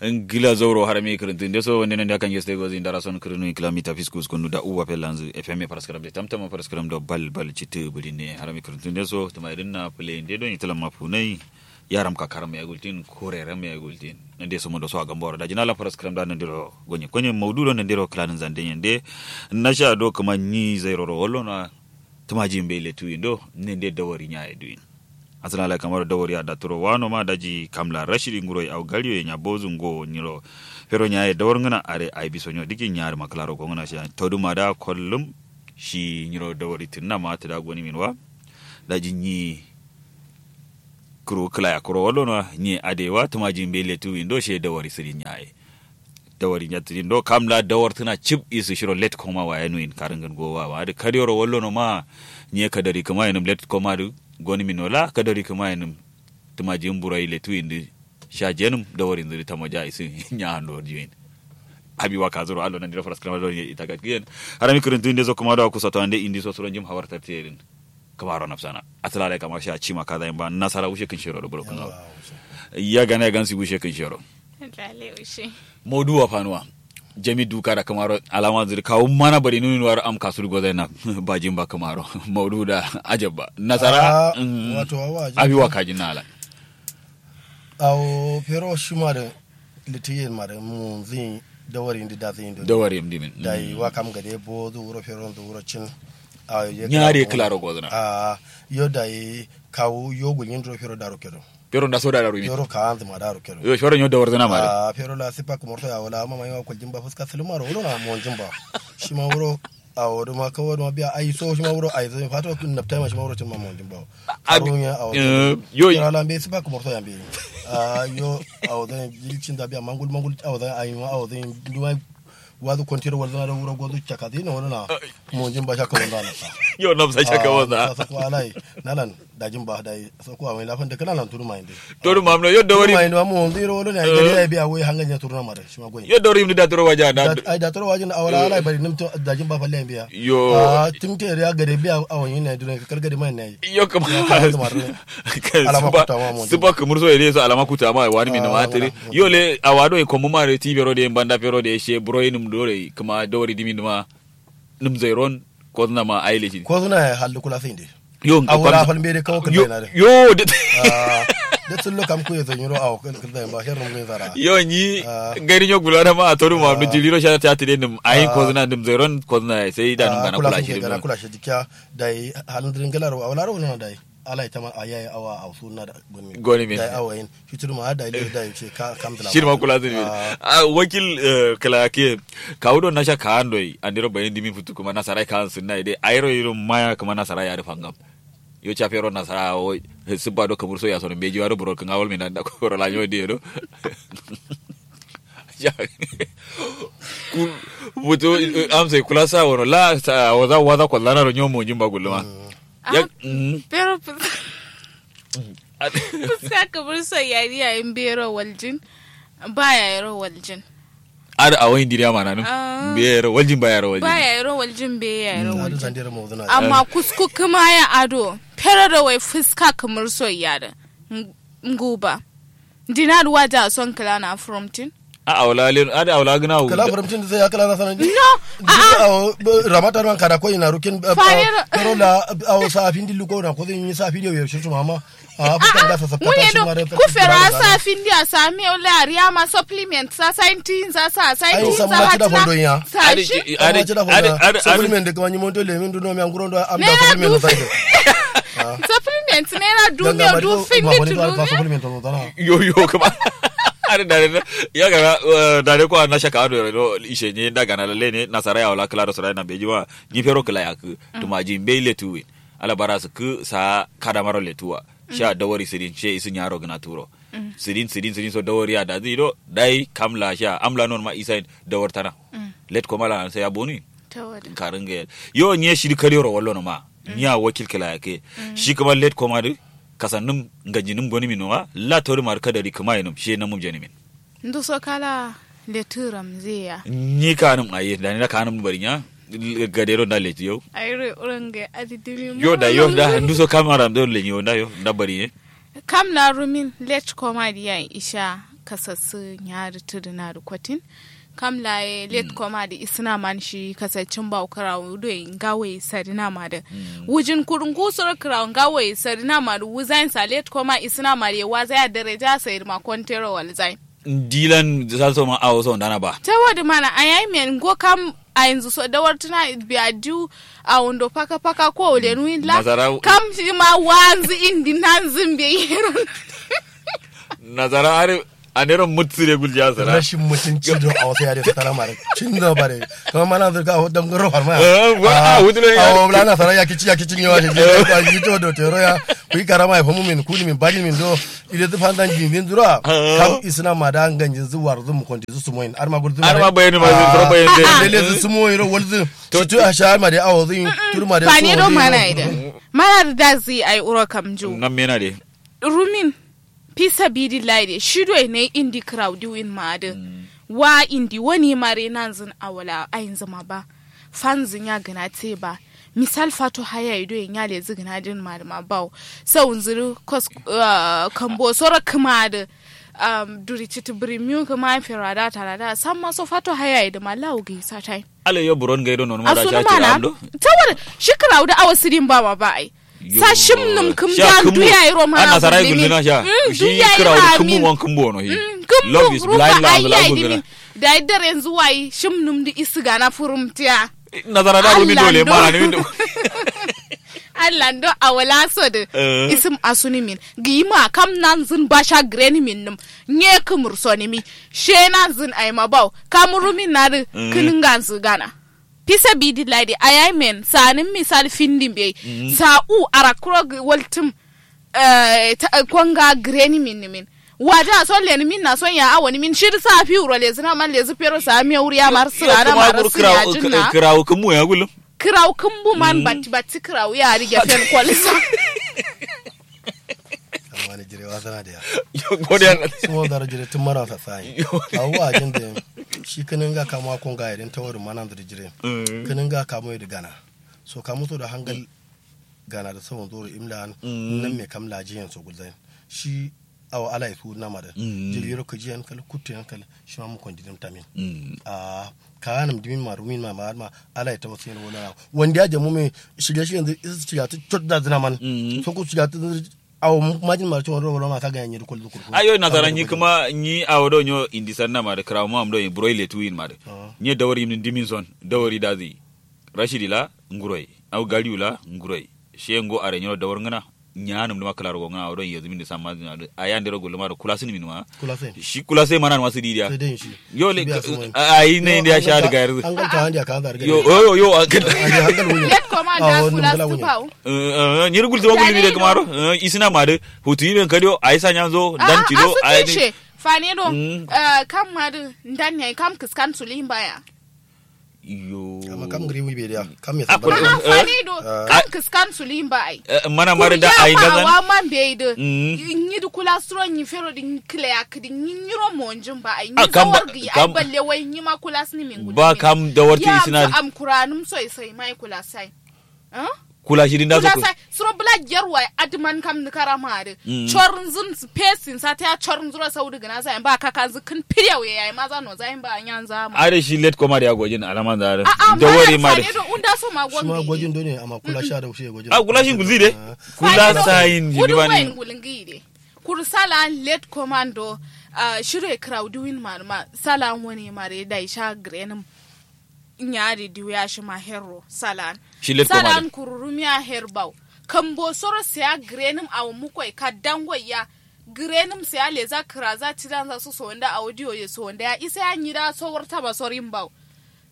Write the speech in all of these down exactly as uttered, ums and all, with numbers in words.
Ngla zauro harami kǝrǝntǝ ndeso wande nande akan yeste gozi ndara son kǝrǝnu ikla mita fiskus kunu da uwa fellanzǝ fm faraskaram de tamtama faraskaram do bal bal cittǝ bǝlinne harami kǝrǝntǝ ndeso tǝmaidǝn na fǝle nde don italan ma funai. Yaram kakaram ya gultin kureram ya gultin nande so mondo so agamboro daji nala faraskaram da nandiro gonye konye maudu do nandiro kǝlanǝn zande nyende. Nasha do kǝma nyi zairoro wallo na. Tǝmaji mbe letu indo nande dawari nyaye duyin. Asǝna lai kamaro dawari ya daturo wano ma daji kamla rashidi nguro ye au gariyo ye nya bozu ngo nyiro. Fero nyaye dawar ngǝna are ai biso nyo diki nyari ma kǝlaro gongǝna shi toduma da kollum. Shi nyiro dawari tǝnna ma tǝda goni min wa. Daji nyi kǝru kǝla ya kuro wallo no nyi ade wa tǝmaji mbe letu indo she dawari sǝri nyaye. Dawari nyattǝ din do kamla dawartǝna cib isǝ shiro let koma waye nuyin karǝngǝn gowa wa adǝ kadiyoro wallo no ma. Nye kadari kǝma yenǝm let koma dǝ goni min no la kadari kǝma yenǝm. Tǝmaji mburo yi letu indǝ sha jenǝm dawari nzǝ dǝ tamo ja isǝ nya ando juyin. Abi wa kazuro allo nandiro faraskaram do itagat giyen. Harami kǝrǝntǝ ndeso kǝma do akusa to ande indiso suro njim hawar tartǝ yedǝn. Kǝmaro nafsana atǝlalai kama sha cima kaza yimba nasara wushe kǝnshero do buro kǝngawo. Ya gana ya gansi wushe kǝnshero. Maudu wa fanuwa. Jami duka da kǝmaro alama nzǝ dǝ kawu mana bari nunu nuwaro am kasu dǝ gozai na. Bajin ba kǝmaro maudu da ajabba nasara. Wato awa abi wa kajin na ala. Awo fero shima dǝ. Litiyen mare munzin dawari ndi dazin do dawari ndi min dayi wa kam gade bo zu wuro fero zu wuro cin. Nyari kǝlaro gozǝna. A yo dayi kawu yo gulnyin duro fero daro kedo. Fero nda so daro min fero ka anzǝ ma daro kedo yo fero nyo dawar zana mare. A fero la sipa kǝmorto ya wala mama yawa kuljin ba fuska sǝlǝmaro wuro na monjin ba. Shima wuro. Awo dǝ ma kawo dǝ ma biya ai so shima wuro ai so fato naptai ma shima wuro cin ma monjin ba. Arunya awo yo ala mbe sipa kǝmorto ya mbe. A yo awo zan jiri cin da biya mangul mangul awo zan ayi ma awo zan duma. Wazu kontiro walzana da wuro gozu caka zai na wani na. Monjin ba shaka wanza na sa. Yo nafsa shaka wanza. Sa ko alai nalan. Dajin ba dai soko awai lafan da kala lan turu mayin dai. Turu mam no yodda wari mayin ma mo zero wala ne ai da ya biya wai hangan ya turu na mare shi ma goyin. Yodda wari mun da turu waja da ai da turu waja na awala ala bari nim to dajin ba falle biya. Yo a tum te ya gade biya awon yin na dure ka kargade mai ne. Yo kuma alama kuta ma mo zuba kumur so ide so alama kuta ma wani min ma tare. Yo le awado e komu ma re ti bero de banda bero de she bro inum dore kuma dawari dimin ma. Nǝm zairon kozǝna ma aile shi kozǝna ya hallu kula sai nde. Yo nga awura fal mbe de kawo kǝlla na de yo de. De tsullo kam kuye zai nyiro awo kǝlla ba sharrum ngai zara yo nyi. Gari nyo gulana ma atoru ma abdu jiliro sha ta tide nǝm ayin kozǝna nǝm zairon kozǝna ya sai da nǝm gana kula shi de kula shi dikiya. Dai halin dirin galaro awlaro na dai. Ala ita ma ayaye awa aw sunna da goni min goni min dai awa yin fitur ma da ile da ce ka kam tana shir ma kula zini a wakil. Kala ke kawu don nasha ka andoi andiro bayin dimin futu kuma nasara ka an sunna ide ayro yiro maya kuma nasara ya rufa ngam. Yo chafero nasara wo sibba do kamur so ya sono beji waro buro kan awol min da ko ro la yo de do. Ku butu amsai kula sa wono la sa waza waza kwallana ro nyomo jimba gulluma. Pero fuska kǝmǝrso yari yayi mbero waljin. Ba yayiro waljin. Adǝ awo indiriya mananǝm. Mbe yayiro waljin ba yayiro waljin ba yayiro waljin mbe yayiro waljin. Amma kusku kǝma ya ado fero do wai fuska kǝmǝrso yadǝ. Nguba. Ndina dǝ waja son kǝla na furumtin. A awla len adǝ awla gǝna wu kala furumtin dǝ sai ya kala na sanandi. No. A'a. Ramata man kada ko ina rukin. Fayar. Karo la awo sa findi luko na ko zai yi sa findi yau shirtu mama. A fukan da sa sapta shi mare. Ku fero sa findi a sami yau la ariya ma supplement sa saintin sa sa saintin sa hatna. Sa shi. Adǝ adǝ adǝ supplement da kuma ni monto lemin duno mi anguro do am da supplement sa. Supplement naira du miyo du findi tulumi. Yo yo kuma. Adǝ dare ya gara dare kwa na shaka ado do ishe nye nda gana lalle ne nasara ya wala kala do sara na beji wa. Ni fero kala ya ku tumaji mbe letu win. Ala bara su ku sa kada maro letuwa. Sha dawari sidin she isu nyaro gana turo. Sidin sidin sidin so dawari ya dazi do dai kamla sha amla non ma isa dawar tana. Let komala sai ya bonu. Karin ga yo nye shi dǝ kare ro wallo no ma. Nya wakil kǝla yake. Shi kǝma let koma dǝ kasannǝm nganjinǝm gonǝmin no ma la todǝ ma dǝ kadari kǝma yenǝm shi ye namum jenimin. Nduso kala letǝ ramzeya. Nyi kanǝm aye dani na kanǝm barinya. Gadero nda leti yau. Ayiro urange adidimi yo da yo da nduso kama ramzeya lenyi yo nda yo nda barinye. Kam na rumin let koma diya isha. Kasassu nya dǝ tǝdǝna dǝ kotin. Kam la ye let koma dǝ isǝna man shi kasaccin bawo kǝrawu doi ngawo ye sadǝna ma dǝ. Wujin kuru ngusoro kǝrawu ngawo ye sadǝna ma dǝ wuzayin sa let koma isǝna ma dǝ ye waza ya dareja sayi dǝ ma kontero walzayin. Ndilan salso ma awo so ndana ba. Tawo dǝ mana ayayi men ngo kam ayinzǝ so dawartǝna biya diwu. Awo ndo paka paka ko wulenu illa. Kam shi ma wanzǝ indi nanzǝ mbeyi yero. Nazara are. Anero mutsire gulja sara rashin mutunci do a wasu yare fatara mare. Cin do bare. Kuma mana zurga ho dam garo farma. Awo bla na sara ya kici ya kici ne wa shi yi to do tero ya. Ku yi karama ya famu min kuni min bari min do. Ile zu fandan jin zin zura. Kam isna ma da ngan jin zu war zu mu konti zu sumoyin arma gul zu arma bayani ma zu bayani de. Ile zu sumoyin ro wal zu. To tu a sha ma de awo zu. Tur ma de fani do mana ide. Mana da zi ai uro kam ju. Nan mena de. Rumin. Fi sabidillahi de shi doi nai indi kǝrau diwin ma adǝ. Wa indi wani mare nanzǝn awala ainzǝ ma ba. Fanzǝ nya gǝna te ba. Misal fato hayayi doi nya lezǝ gǝna din ma dǝ ma bawo. Saunzǝ dǝ kos kambo soro kǝma adǝ. Duri citǝ bǝrimiyu kǝma ferada tarada samma so fato hayayi dǝ ma lawu gǝyi satai. Alai yo buron gai do nonuma da sha cira am do. Tawar shi kǝrau dǝ awo sǝdin ba ma ba ai. Sa shim nǝm kǝm da ndu yayi ro mana gulli min. Ndu yayi ma min. Kǝmbu rufa ai yayi dimin. Dayi daren zuwayi shim nǝm dǝ isǝ gana furum tiya. Nazara da rumin dole mana nimin do. Allando awala so dǝ. Isǝm asuni min gǝyi ma kam nanzǝn basha gǝreni min nǝm. Nye kǝmur soni mi she nanzǝn ai ma bawo kam rumin na dǝ. Kǝnǝnganzǝ gana. Fi sabidillahi de ayayi men sanǝm misal findin beyi. Sa u arakkuro waltǝm. Konga gǝreni min nǝmin. Waja so leni min na son ya awoni min shidǝ sa fiwuro lezǝna man lezǝ fero sa mewur ya mar sǝrana mar sǝrajin na. Kǝrawu kǝmbu ya gullum. Kǝrawu kǝmbu man batti batti kǝrawu ya dǝ gefen kolsa. Amma ni jire wasana da ya. Yo godiya. Sumo zaro jire tun mara sasai. Awu ajin da shi kǝnǝnga kamuwa konga ya din tawar mana zaro jire. Kǝnǝnga kamuwa ya dǝ gana. So kamu so da hangal gana da sawon zoro imla an. Nan me kam lajiyan so gulzain shi. Awo ala ye suwudǝna ma dǝ. Jiri yero kǝjiyen kal kuttuyen kal. Shima mukon didǝm tamin. Ahh kaganǝm dǝmin ma rumin ma ma adǝ ma. Ala ye tawas yen wolo na wandi ya jamu me shirye shiryen dǝ isǝ shirya tǝ cot da dǝna man. Sokku shirya tǝ dǝ awo majin ma dǝ cot wolo ma kaga ya nyi dǝ kol dǝ kurku. Ayo nasara nyi kǝma nyi awo do nyo indi sanna ma dǝ kǝrawu ma am do nyi buro ile tuwin ma dǝ. Nyi dawari dǝmin son dawari da zǝyi. Rashidi la nguroi. Au gariu la nguroi. She ngo are nyiro dawar ngǝna. Nyanǝm dǝma kǝlaro go ngǝna awo don yezǝmin dǝ samma dǝna dǝ ayi andero gulluma dǝ kulasǝnǝmin ma. Shi kulasai mana nǝma sǝdi diya. Yo le. Ayi nai ndiya sha dǝ gayar dǝ. Yo yo yo. Let koma da kulasǝ bawo. Nyiri gultǝma gullumi dǝ kǝmaro. Isǝna ma dǝ hutu yimen kadiyo ayi sa nyanzo dan cido ayi dǝ. Fane do. Kam ma dǝ ndan yayi kam kǝskan suli mbaya. Iyo. Amma kam ngǝri wi be diya kam me samba. Amma fani do kam kǝskan suli mba ai. Mana mare da ai da zan wa man be ai do. Nyi du kula suro nyi fero di kile ya kidi nyi nyiro monjin ba ai nyi zawar gi ai balle wai nyi ma kula sini min gudi ba kam da warti isina am kuranum soi soi mai kula sai. Kula shi din da so kula sai suro bula gerwa adman kam ni kara ma de. Chornzun pesin sa ta chornzuro saudi gina sai ba kakanzu kin piriya we yayi maza no zai ba nyanza ma. Are shi let koma da ya gojin alaman zare. Da wari ma de. Unda so ma gombe shi ma gojin do ne amma kula sha da shi gojin a kula shi guzi de. Kula sayin jini ba ne. Kuru sala let komando. Shiro ya crowd win ma ma sala wani ma de da isha grenim. Nyari diwiya shima herro salan. Salan kururumi a her baw. Kambo soro siya grenim awo mukoi kaddangoiya. Grenim siya leza kiraza cidanza so sonda awo diyo ye sonda ya isa ya nyida so warta ba sorin baw.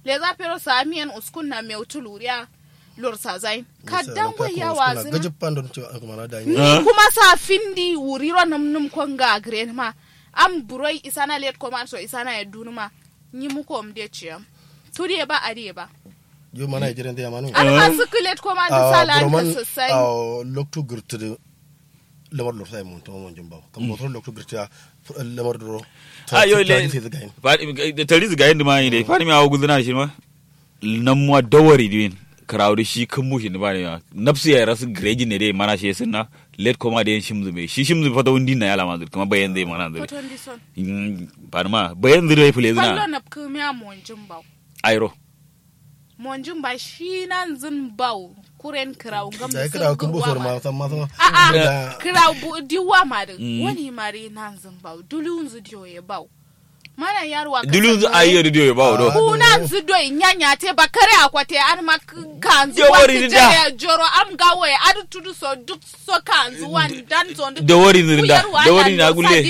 Leza pero samiyen uskun na mewtu luriya. Lorsa zain kaddangoiya wazin. Ni kuma sa findi wuriro num num konga grenima. Am buroi isana let koman so isana ya dunuma. Nyi muko mde ciyam. Tudiye ba adiye ba. Yo mana ye jiren de yamanu. Alma suklet koma ndu sala an kasasai. Loktu gurtu de lamar lorsa ye mun to mon jumba kam botro loktu gurtu ya. Lamar duro. Ayo le. Tari zigayin duma yi de fani mi awo guduna shi ma. Namwa dawari duin. Kǝrawu dǝ shi kǝmbu shin dǝ bane ma nabsu yayi rasu gǝrejin ne dai mana shi ye sǝnna. Let koma dai yen shimzǝ mbe shi shimzǝ fato wundin na yala manzǝ dǝ kǝma bayanzǝ ye mana nzǝ dǝ. Fadima bayanzǝ dǝ wai fǝlezǝna. Fallo nabkǝmiya monjin bawo. Airo. Monjin ba shi nanzǝn bawo. Kuren kǝrawu ngamzǝ sǝn gurwa ma. Kǝrawu diwa ma dǝ wani ma dǝ nanzǝn bawo dulunzǝ diyo ye bawo. Mana yarwa dulunzǝ ayi ye dǝ diyo ye bawo do. Kunanzǝ doi nyanya te ba kare akwa te adǝma. Kanzǝ wani jere joro am gawo ye adǝ tudu so duk so kanzǝ wani dan so duk. Dawari nzǝ da dawari na gulle.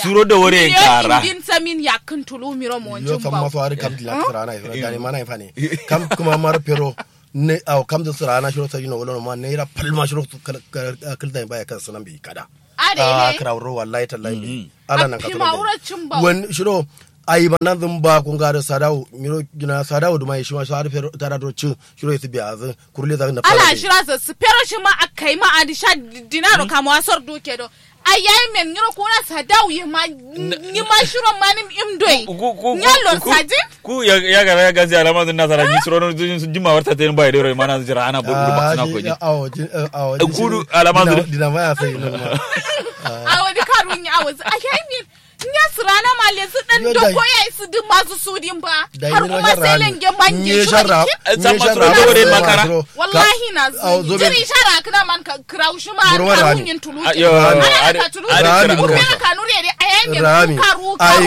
Suro dawari ye kara. Indin samin yakkǝn tulu miro monjin bawo. Yo kam maso adǝ kam dila tǝsǝrana ye suro dani mana ye fane. Kam kǝma maro pero. Ne awo kamzǝ sǝrana shiro sadino wolono ma naira palma shiro. Kǝlzai ba ye kan sǝnan bi kada. Adai ne. Kǝrawuro wallahi tallahi mbi. Ala nan kaso dai. Wani shiro. Ayi ba nanzǝn ba kunga dǝ sadawu nyiro gina sadawu duma ye shima sadu fero tada duro cin. Shiro ye sǝ biya azǝ kurle zagǝ nafsa ala shira zǝ sǝ fero shima akkai ma adǝ sha. Dinaro kamuwa sor duke do. Ayayi men nyiro kuna sadawu ye ma. Nyima shiro manim im doi. Nyallo sajin. Ku ya gara ya gazi alama zǝn nasara nyi suro no zǝn jima warta ten bai dero mana zǝn jira ana buru buru ba suna ko nyi. Kudu alama zǝn. Dina ma ya sai no ma. Awo di karun ya awo a kai min. Nya sirana ma le su dan doko ya isu duk masu sudin ba. Har kuma sai lenge mangi. Samma suro dawari makara. Wallahi na zǝn jiri shara kǝna man ka kǝrau shi ma karun yin tulu. Ana ka tulu. Kare kanuri ya dai a yayin yin karu karu.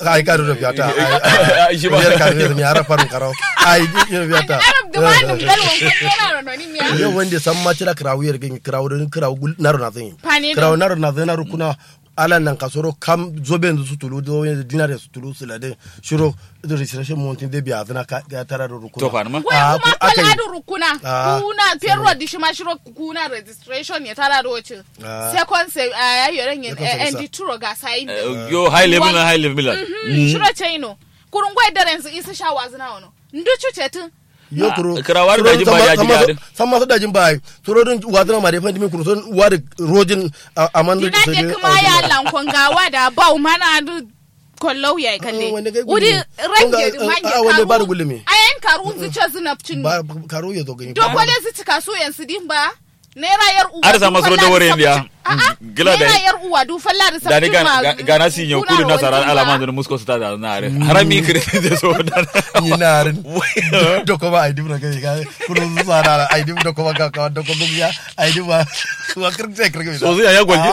Ai ka duro fiyata. Ai shi ba yar ka duro mi ara farun karau. Ai duro fiyata. Arab da wani galwan kun yana da noni miya. Yau wanda samma cira karawu yar gani karawu da karawu gul naro na zan yi. Karawu naro na zan na rukuna. Ala nan kasoro kam zobe yanzu su tulu zobe yanzu dinare su tulu su lade. Shiro registration montin de biya zana ka tara da rukuna. To fa ma. Wai kuma kala da rukuna. Kuna perro di shi ma shiro kuna registration ya tara da wacin. Second se a ya yoren yen. Endi turo ga sayin. Yo high level na high level milan. Shiro chaino. Kurun gwai daren su isu sha wazuna wono. Ndu cuce tun. Yo kuro kira wari da jin ba ya ji gari. Samma su da jin ba ai turo dun wazuna ma da fandi min kuro sun wari rojin. Aman dina ke kuma ya lankon gawa da bau mana du. Kollau ya yi kalle. Wudi range di mange karu. Ayan karu nzu ce zuna cin. Karu ya zo gani dokole zu cika su yan su din ba. Naira yar uwa. Ada sama suro da wore ndiya. Gila da naira yar uwa du falla da sabtin ma. Gana si nyo kudu nasara alama ndu musko su ta da na are harami kire de so da. Ni na arin. Doko ba ai dibra kai ga kudu su sa da ai dib doko ba ka ka doko ba ya ai dib ba. Wa kir sai kir ga so ya ya golji.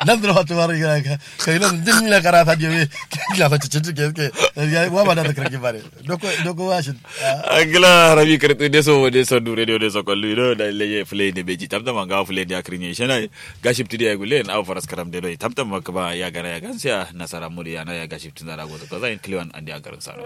Nan da wata mara ga ka kai nan din na karata je we. Kila fa cikin cikin ke ya wa ba da kir ki bare. Doko doko wa shi. Angla harami kǝrǝtǝ deso deso du radio deso kollu ido da leye fǝlai ne beji tamtam anga fǝlai ne akǝrǝ nye shana. Gaship tǝdi ya gulen awo faras karam de doi tamtam ma kǝma ya gana ya gansiya nasara mudi yana ya gaship tǝnzara gozo kaza in kliwan andi ankarǝ saro.